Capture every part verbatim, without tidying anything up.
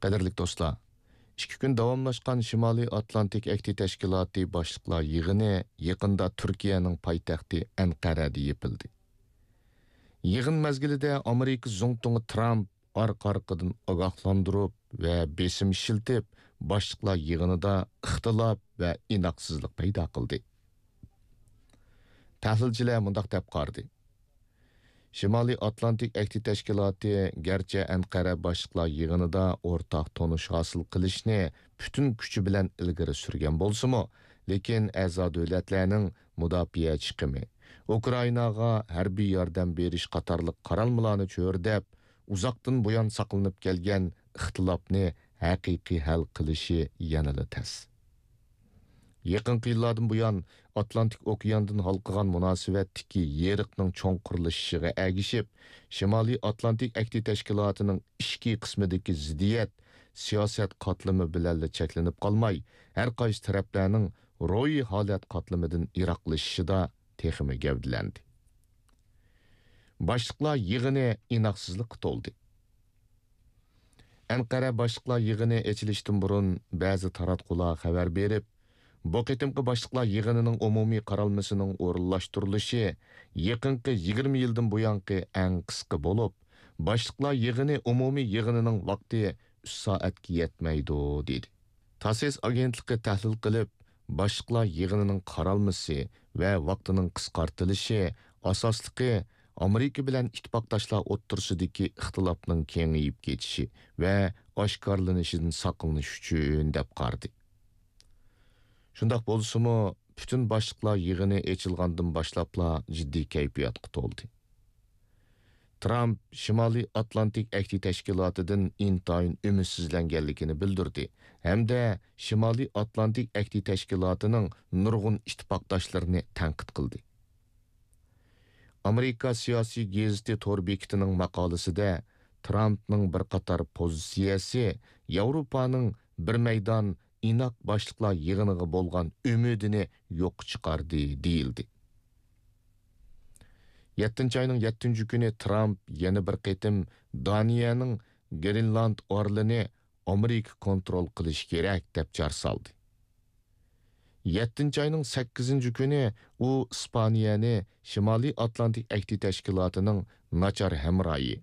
قەدىرلىك دوستلار، ئىككى كۈن داۋاملاشقان شىمالىي ئاتلانتىك ئەھدى تەشكىلاتى باشلىقلار يىغىنى يېقىندا تۈركىيەنىڭ پايتەختى ئەنقەرەدە يېپىلدى. يىغىن مەزگىلىدە ئامېرىكا زۇڭتۇڭى ترامپ ئارقا-ئارقىدىن ئاگاھلاندۇرۇپ ۋە بېسىم ئىشلىتىپ، باشلىقلار يىغىنىدا ئىختىلاپ ۋە ئىناقسىزلىق پەيدا قىلدى. تەھلىلچىلەر مۇنداق دەپ قارىدى: شىمالىي ئاتلانتىك ئەھدى تەشكىلاتى گەرچە ئەنقەرە باشلىقلار يىغىنىدا ئورتاق تونۇش ھاسىل قىلىشنى پۈتۈن كۈچى بىلەن ئىلگىرى سۈرگەن بولسىمۇ، لېكىن ئەزا دۆلەتلەرنىڭ مۇداپىئە چىقىمى، ئۇكرائىناغا ھەربىي ياردەم بېرىش قاتارلىق قارالمىلارنى چۆرىدەپ، ئۇزاقتىن بۇيان ساقلىنىپ كەلگەن ئىختىلاپنى ھەقىقىي ھەل قىلىشى يەنىلا تەس. يېقىنقى يىللاردىن بۇيان ئاتلانتىك ئوكياندىن ھالقىغان مۇناسىۋەتتىكى يېرىقنىڭ چوڭقۇرلىشىشىغا ئەگىشىپ، شىمالىي ئاتلانتىك ئەھدى تەشكىلاتىنىڭ ئىچكى قىسمىدىكى زىددىيەت سىياسەت قاتلىمى بىلەنلا چەكلىنىپ قالماي، ھەر قايسى تەرەپلەرنىڭ روھىي ھالەت قاتلىمىدىن يىراقلىشىشىدا تېخىمۇ گەۋدىلەندى. باشلىقلار يىغىنى ئىناقسىزلىققا تولدى. ئەنقەرە باشلىقلار يىغىنى ئېچىلىشتىن بۇرۇن بەزى تاراتقۇلار خەۋەر بېرىپ، بۇ قېتىمقى باشلىقلار يىغىنىنىڭ ئومۇمىي قارالمىسىنىڭ ئورۇنلاشتۇرۇلۇشى يېقىنقى يىگىرمە يىلدىن بۇيانقى ئەڭ قىسقا بولۇپ، باشلىقلار يىغىنى ئومۇمىي يىغىنىنىڭ ۋاقتى ئۈچ سائەتكە يەتمەيدۇ، دېدى. تاسس ئاگېنتلىقى تەھلىل قىلىپ، باشلىقلار يىغىنىنىڭ قارالمىسى ۋە ۋاقتىنىڭ قىسقارتىلىشى ئاساسلىقى ئامېرىكا بىلەن ئىتتىپاقداشلار ئوتتۇرىسىدىكى ئىختىلاپنىڭ كېڭىيىپ كېتىشى ۋە ئاشكارىلىنىشىدىن ساقلىنىش ئۈچۈن، دەپ قارىدى. شۇنداق بولسىمۇ، پۈتۈن باشلىقلار يىغىنى ئېچىلغاندىن باشلاپلا جىددىي كەيپىياتقا تولدى. ترامپ شىمالىي ئاتلانتىك ئەھدى تەشكىلاتىدىن ئىنتايىن ئۈمىدسىزلەنگەنلىكىنى بىلدۈردى ھەمدە شىمالىي ئاتلانتىك ئەھدى تەشكىلاتىنىڭ نۇرغۇن ئىتتىپاقداشلىرىنى تەنقىد قىلدى. ئامېرىكا سىياسىي گېزىتى تور بېكىتىنىڭ ماقالىسىدە ترامپنىڭ بىر قاتار پوزىتسىيەسى ياۋروپانىڭ بىر مەيدان ئىناق باشلىقلار يىغىنىغا بولغان ئۈمىدىنى يوققا چىقاردى، دېيىلدى. يەتتىنچى ئاينىڭ يەتتىنچى كۈنى ترامپ يەنە بىر قېتىم دانىيەنىڭ گرېنلاند ئارىلىنى ئامېرىكا كونترول قىلىشى كېرەك، دەپ جار سالدى. يەتتىنچى ئاينىڭ سەككىزىنچى كۈنى ئۇ ئىسپانىيەنى شىمالىي ئاتلانتىك ئەھدى تەشكىلاتىنىڭ ناچار ھەمراھى،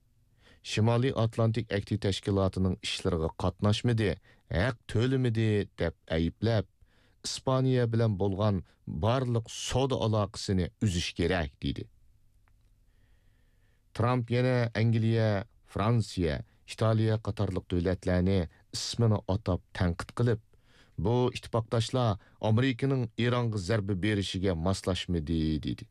شىمالىي ئاتلانتىك ئەھدى تەشكىلاتىنىڭ ئىشلىرىغا قاتناشمىدى، ھەق تۆلىمىدى، دەپ ئەيىبلەپ، ئىسپانىيە بىلەن بولغان بارلىق سودا ئالاقىسىنى ئۈزۈش كېرەك، دېدى. ترامپ يەنە ئەنگلىيە، فرانسىيە، ئىتالىيە قاتارلىق دۆلەتلەرنى ئىسمىنى ئاتاپ تەنقىد قىلىپ، بۇ ئىتتىپاقداشلار ئامېرىكىنىڭ ئىرانغا زەربە بېرىشىگە ماسلاشمىدى، دېدى.